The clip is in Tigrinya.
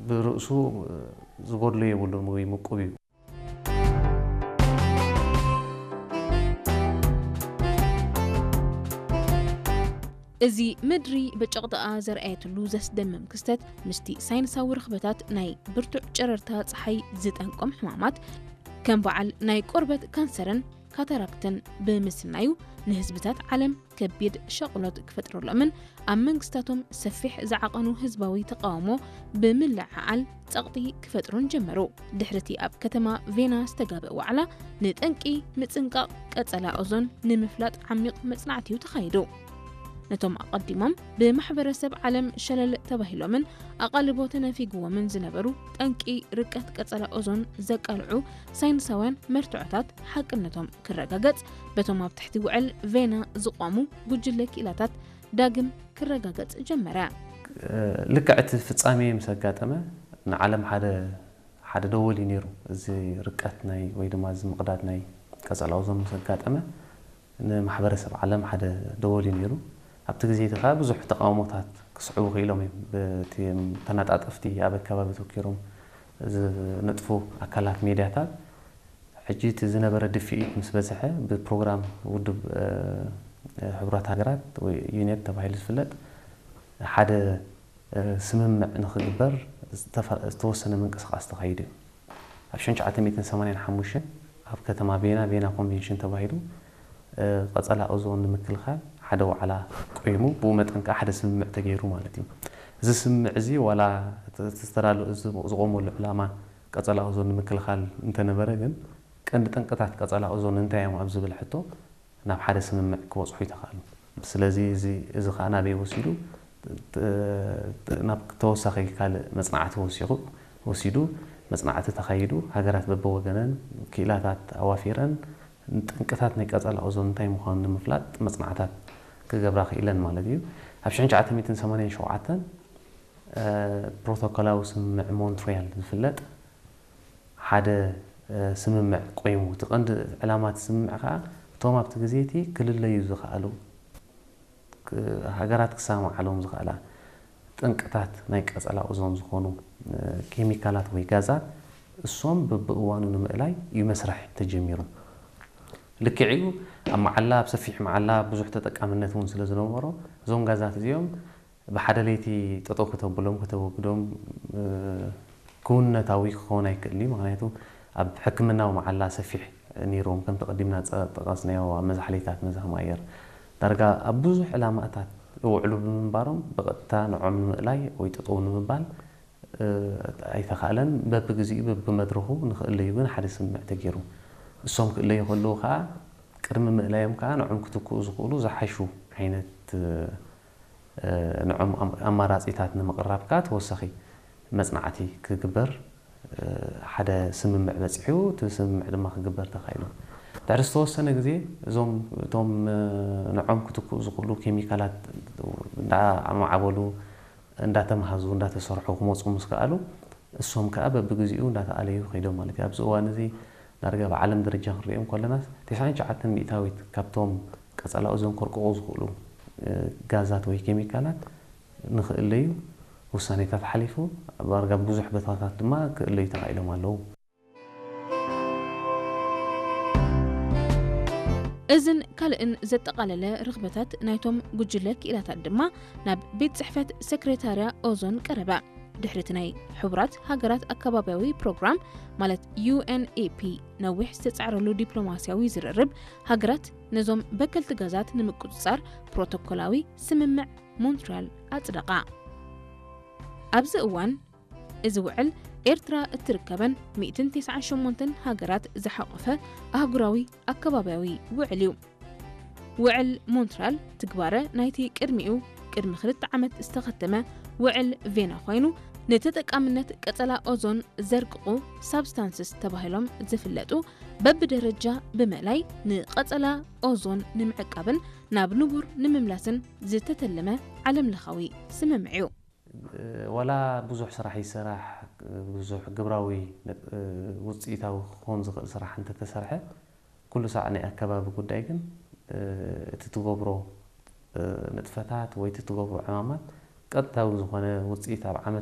ብርእሱ ዝጎድሎ የብሉን ወይ ምቁብ እዩ። እዚ ምድሪ ብጭቕጥኣ ዘርኣየትሉ ዘስደምም ክስተት ምስቲ ሳይንሳዊ ርኽበታት ናይ ብርቱዕ ጨረርታ ጸሓይ ዝጠንቆም ሕማማት ከም በዓል ናይ ቆርበት ካንሰርን ካታራክትን ብምስናዩ ንህዝብታት ዓለም ከቢድ ሸቕሎት ክፈጥረሎምን ኣብ መንግስታቶም ሰፊሕ ዝዓቐኑ ህዝባዊ ተቃውሞ ብምልዕዓል ጸቕጢ ክፈጥሩን ጀመሩ። ድሕርቲ ኣብ ከተማ ቬና ዝተጋበእ ዋዕላ ንጠንቂ ምጽንቃቕ ቀጸላ ኦዞን ንምፍላጥ ዓሚቕ መጽናዕቲ እዩ ተኻይዱ። ነቶም ኣቐዲሞም ብማሕበረሰብ ዓለም ሸለል ተባሂሎምን ኣቓልቦ ተነፊግዎምን ዝነበሩ ጠንቂ ርቀት ቀጸላ ኦዞን ዘቃልዑ ሳይንሳውያን መርትዖታት ሓቅነቶም ክረጋገጽ በቶም ኣብ ትሕቲ ውዕል ቬና ዝቖሙ ጉጅለ ክኢላታት ዳግም ክረጋገጽ ጀመረ። ልክዕ እቲ ፍጻሜ ምስ ኣጋጠመ ንዓለም ሓደ ሓደ ደወል እዩ ነይሩ። እዚ ርቀት ናይ ወይ ድማ እዚ ምቕዳድ ናይ ቀጸላ ኦዞን ምስ ኣጋጠመ ንማሕበረሰብ ዓለም ሓደ ደወል እዩ ነይሩ። ኣብቲ ግዜ እቲ ከዓ ብዙሕ ተቃውሞታት ክስዕቡ ክኢሎም እዮም። በቲ ተነጣጠፍቲ ኣብ ኣከባቢ ተኪሮም ዝነጥፉ ኣካላት ሚድያታት ሕጂ እቲ ዝነበረ ድፍኢት ምስ በዝሐ ብፕሮግራም ውድብ ሕቡራት ሃገራት ወይ ዩኔፕ ተባሂሉ ዝፍለጥ ሓደ ስምምዕ ንክግበር ዝተወሰነ ምንቅስቃስ ተኻይዱ እዩ። ኣብ ሽሕን ትሽዓተ ሚእትን ሰማንያን ሓሙሽተን ኣብ ከተማ ቬና ቬና ኮንቬንሽን ተባሂሉ ቀጸላ ኦዞን ንምክልኻል ሓደ ዋዕላ ቆይሙ ብኡ መጠን ከዓ ሓደ ስምምዕ ተገይሩ ማለት እዩ። እዚ ስምምዕ እዚ ዋላ ዝተዳለ ዝቆመሉ ዕላማ ቀጸላ ኦዞን ንምክልኻል እንተነበረ ግን ቀንዲ ጠንቅታት ቀጸላ ኦዞን እንታይ እዮም ኣብ ዝብል ሕቶ ናብ ሓደ ስምምዕ ክበጽሑ ይተኻእሉ። ስለዚ እዚ እዚ ከዓ ናበይ ወሲዱ ናብ ተወሳኺ ካልእ መጽናዕቲ ወሲኹ ወሲዱ መጽናዕቲ ተኻይዱ ሃገራት በብወገነን ክኢላታት ኣዋፊረን ጠንቅታት ናይ ቀጸላ ኦዞን እንታይ ምዃኑ ንምፍላጥ መጽናዕታት ክገብራ ክኢለን ማለት እዩ። ኣብ ሽሕን ትሽዓተ ሚእትን ሰማንያን ሸውዓተን ፕሮቶኮላዊ ስምምዕ ሞንትሪያል ዝፍለጥ ሓደ ስምምዕ ቆይሙ እቲ ቀንዲ ዕላማ እቲ ስምምዕ ከዓ እቶም ኣብቲ ግዜ እቲ ክልለዩ ዝኽኣሉ ሃገራት ክሰማማዓሎም ዝኽእላ ጠንቅታት ናይ ቀጸላ ኦዞን ዝኾኑ ኬሚካላት ወይ ጋዛት እሶም በብእዋኑ ንምእላይ እዩ መስርሕ ተጀሚሩ። ልክዕ እዩ ኣብ መዓላ ኣብ ሰፊሕ መዓላ ብዙሕ ተጠቃምነት እውን ስለ ዝነበሮ እዞም ጋዛት እዚኦም ብሓደ ለይቲ ጠጠው ከተብሎም ከተወግዶም ክውንነታዊ ክኸውን ኣይክእል እዩ። ምክንያቱ ኣብ ሕክምናዊ መዓላ ሰፊሕ ነይርዎም ከም ተቐዲምና ጠቐስናዮ ኣብ መዛሕሊታት መዛህማ ኣየር ዳርጋ ኣብ ብዙሕ ዕላማታት ይውዕሉ ብምንባሮም ብቐጥታ ንዖም ንምእላይ ወይ ጠጠው ንምባል ኣይተኻእለን። በብግዚኡ በብመድረኹ ንክእለዩ ግን ሓደ ስምምዕ ተገይሩ። እሶም ክእለዩ ከለዉ ከዓ ቅድሚ ምእላዮም ከዓ ንዖም ክትክኡ ዝኽእሉ ዝሓሹ ዓይነት ንዖም ኣማራፂታት ንምቕራብ ከዓ ተወሳኺ መፅናዕቲ ክግበር ሓደ ስምምዕ በፂሑ እቲ ስምምዕ ድማ ክግበር ተኻኢሉ። ድሕሪ ዝተወሰነ ግዜ እዞም እቶም ንዖም ክትክኡ ዝኽእሉ ኬሚካላት እንዳማዕበሉ እንዳተምሃዙ እንዳተሰርሑ ክመፁ ምስ ከኣሉ እሶም ከዓ በብግዚኡ እንዳተኣለዩ ከይዶም ማለት እዩ። ኣብዚ እዋን እዚ ዳርጋ ብዓለም ደረጃ ክንሪኦም ከለና ተስዓን ትሽዓተን ሚእታዊት ካብቶም ቀጸላ ኦዞን ከርቅቑ ዝኽእሉ ጋዛት ወይ ኬሚካላት ንኽእለዩ ውሳኔታት ሓሊፉ ኣብ ዳርጋ ብዙሕ ቦታታት ድማ ክእለዩ ተኻኢሎም ኣለዉ። እዝን ካልእን ዘጠቓለለ ርኽበታት ናይቶም ጉጅለ ክኢላታት ድማ ናብ ቤት ጽሕፈት ሰክሬታርያ ኦዞን ቀረበ። ድሕሪቲ ናይ ሕቡራት ሃገራት ኣከባብያዊ ፕሮግራም ማለት ዩ ኤን ኢ ፒ ነዊሕ ዝተጻዕረሉ ዲፕሎማስያዊ ዝርርብ ሃገራት ነዞም በከልቲ ጋዛት ንምቁጽጻር ፕሮቶኮላዊ ስምምዕ ሞንትሪያል ኣጽደቓ። ኣብዚ እዋን እዚ ውዕል ኤርትራ እትርከበን ሚእትን ተስዓን ሸሞንተን ሃገራት ዝሓቖፈ ኣህጉራዊ ኣከባብያዊ ውዕል እዩ። ውዕል ሞንትሪያል ትግባረ ናይቲ ቅድሚኡ ቅድሚ ክልተ ዓመት ዝተኸተመ ውዕል ቬና ኮይኑ ንተጠቃምነት ቀጸላ ኦዞን ዘርቅቑ ሳብስታንስስ ተባሂሎም ዝፍለጡ በብደረጃ ብምእላይ ንቐጸላ ኦዞን ንምዕቃብን ናብ ንቡር ንምምላስን ዝተተለመ ዓለምለኻዊ ስምምዕ እዩ። ዋላ ብዙሕ ስራሕ ይሰራሕ ብዙሕ ግብራዊ ውፅኢታዊ ክኾን ዝኽእል ስራሕ እንተተሰርሐ ኩሉ ሳዕ ናይ ኣከባቢ ጉዳይ ግን እቲ ትገብሮ ንጥፈታት ወይ እቲ ትገብሮ ዕማማት ቀጥታዊ ዝኾነ ውፅኢት ኣብ ዓመት